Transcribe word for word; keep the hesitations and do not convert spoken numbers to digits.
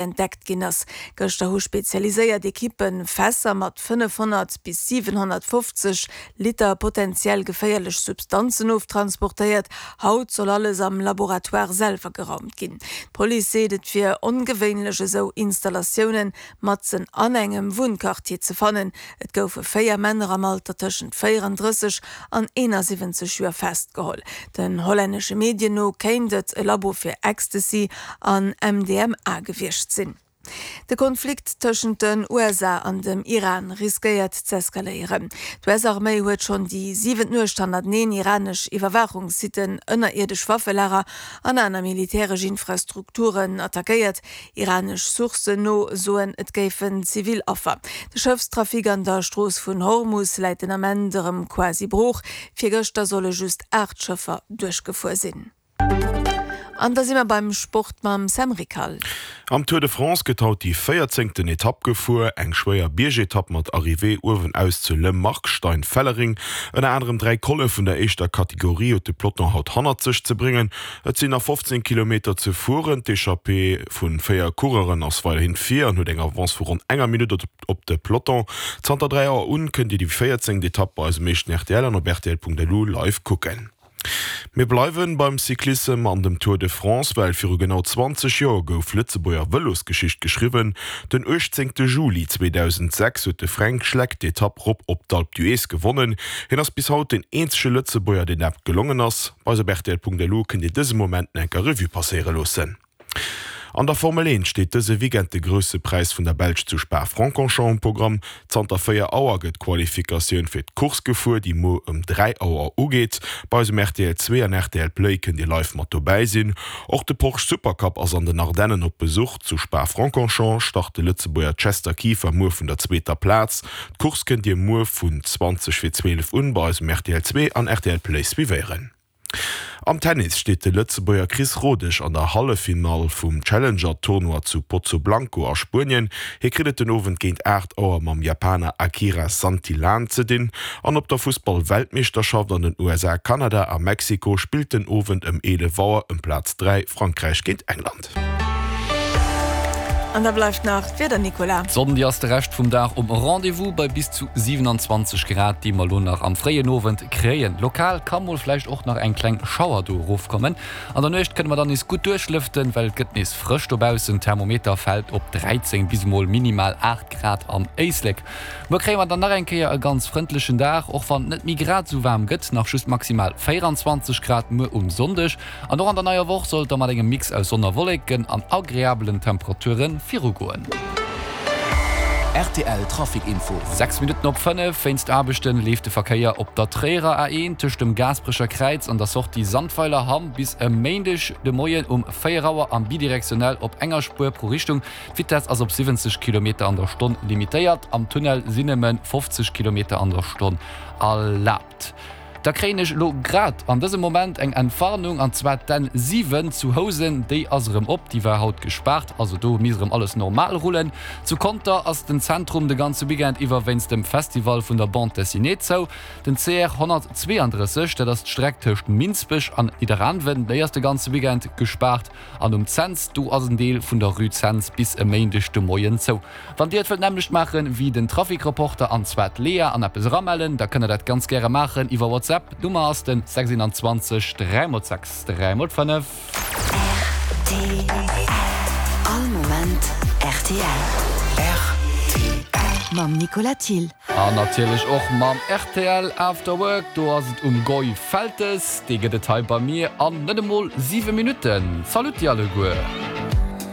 entdeckt ginn ass. Gëschter hu spezialiséiert Ekippe Fässer mat fënnefhonnert bis siwenhonnertfofzeg Liter potentiell geféierlech Substanzen oftransportéiert. Haut soll alles am Laboratoire selwer geraumt ginn. D'Police seet, et wier ongewéinlech esou Installatiounen matzen an engem Wunnquartier ze fannen. Et goufe véier Männer am Alter tëschent véierandrësseg an eenasiwwenzeg Joer festgeholl. Den hollännesche Medien no kéint et e Labo fir Ecstasy an M D M A gewiescht sinn. De Konflikt tëschent den U S A an dem Iran riskéiert z'eskaléieren. D'U S-Arméi huet schonn déi siwent Nuecht hannerteneen iranesch Iwwerwaachungssitten, ënnerierdesch Waffelager an aner militäresch Infrastrukturen attackéiert. Iranesch Sourcen no soen, et géifen zivil Affer. De Schëffstrafic an der Strooss vun Hormus läit den Ament erëm quasi brooch. Virgëschter solle just aacht Schëffer duerchgefuer sinn. An da si mer beim Sport mam Sam Rickal. Am Tour de France gëtt haut déi véierzéngten Etapp gefuer, eng schwéier Biergetapp mat Arrivée uewenaus zu Le Markstein-Fellering. Ënner anerem dräi Colle vun der éischter Kategorie huet de Peloton haut hannert sech ze bréngen. Et sinn nach fofzéng Kilometer ze fueren. D'Echappée vu véier Coureuren ass weiderhin vir an huet eng Avance vu ronn enger Minutt op de Peloton. Zanter dräi Auer un kënnt Dir déi véierzéngt Etapp bei eisem éischten R T L an op R T L Punkt L U live kucken. Mir bleiwen beim Cyclissem an dem Tour de France, well viru genau zwanzeg Joer gouf Lëtzebuerger Vëlosgeschicht geschriwwen. Den uechtzéngte Juli zweedausendsechs huet de Fränk Schleck d'Etapp rop op d'Alpe d'Huez gewonnen. Hien ass bis haut den eenzege Lëtzebuerger, deen dat gelongen ass. Bei eis op R T L Punkt L U kënnt Dir dëse Moment nach eng Kéier Revue passéiere loossen. An der Formel eent steet dëse Weekend de Grousse Präis vun der Belsch zu Spa-Francorchamps um Programm. Zanter véier Auer gëtt d'Qualifikatioun fir d'Course gefuer, déi muer ëm dräi Auer ugeet. Bei eis um R T L zwee an R T L Play kënnt Dir live mat dobäi sinn. Och de Porsche Supercup ass an den Ardennen op Besuch. Zu Spa-Francorchamps start de Lëtzebuerger Chester Kieffer muer vun der zweeter Plaz. D'Course kënnt Dir muer vun zwanzeg vir zwielef un bei eis um R T L zwee an R T L Play suivéieren. Am Tennis steet de Lëtzebuerger Chris Rodesch an der Halleffinall vum Challenger-Tournoi zu Pozoblanco a Spuenien. Hie kritt et den Owend géint aacht Auer mam Japaner Akira Santillan ze dinn. An op der Fussball-Weltmeeschterschaft an den U S A, Kanada a Mexiko spillt den Owend ëm eelef Auer ëm Plaz dräi Frankräich géint England. An da bleift nach d'Wieder, Nicolas. D'Sonn déi ass de Rescht vum Dag um Rendez-vous bei bis zu siewenundzwanzeg Grad, déi mer lo nach am fréien Owend kréien. Lokal ka mol vläicht och nach eng kleng Schauer do erofkommen. An der Nuecht kënne mer dann nees gutt duerchlëften, well et gëtt nees frësch dobaussen. Thermometer fält op dräizéng bis mol minimal aacht Grad am Éislek. Muer kréie mer dann nach eng Kéier e ganz frëndlechen Dag, och wann et net méi grad esou waarm gëtt, nach just maximal véierundzwanzeg Grad muer um Sonndeg. An och an der neier Woch soll et da mat engem Mix aus Sonn a Wolleken an agreabelen Temperature virugoen. R T L Trafic Info. Sechs Minutten op fënnef. Wéinst Aarbechte leeft de Verkéier op der Tréierer A eent tëscht dem Gaasperecher Kräiz an der Sortie Sandweiler Hamm bis e Méindeg de Moien um véier Auer am bidirektionell op enger Spuer pro Richtung. D'Vitess ass op siwwenzeg Kilometer an der Stonn limitéiert. Am Tunnel sinn nëmme fofzeg Kilometer an der Stonn erlaabt. Da kréien ech elo grad an dësem Moment eng Entwarnung, an zwar d'N siwen zu Housen, déi ass erëm op, déi war haut gespaart, also do misst erëm alles normal rullen. Zu Conter ass den Zentrum de ganze Weekend iwwer wéinst dem Festival vun der Bande Dessinée zou. Den C R honnertzweeandrësseg, dat ass d'Streck tëscht Minsbech an Nidderaanwen, déi ass de ganze Weekend gespaart. An um Cents, do ass en Deel vun der Rue Cents bis e Méindeg de Moien zou. Wann Dir et wëllt d'nämmlecht maachen wéi den Trafic-Reporter, an zwar d'Lea, an eppes eramellen, da kënnt der dat ganz gäre maachen iwwer WhatsApp. D'Nummer ass den sechsundzwanzeg dräi mol sechs dräi mol fënnef. R T L. All Moment R T L. R T L. Mam Nicolas Thill. An natierlech och mam R T L After Work. Do ass et um Goy Feltes. Dee gëtt et hei bei mir an net emol siwe Minutten. Saluti alleguer!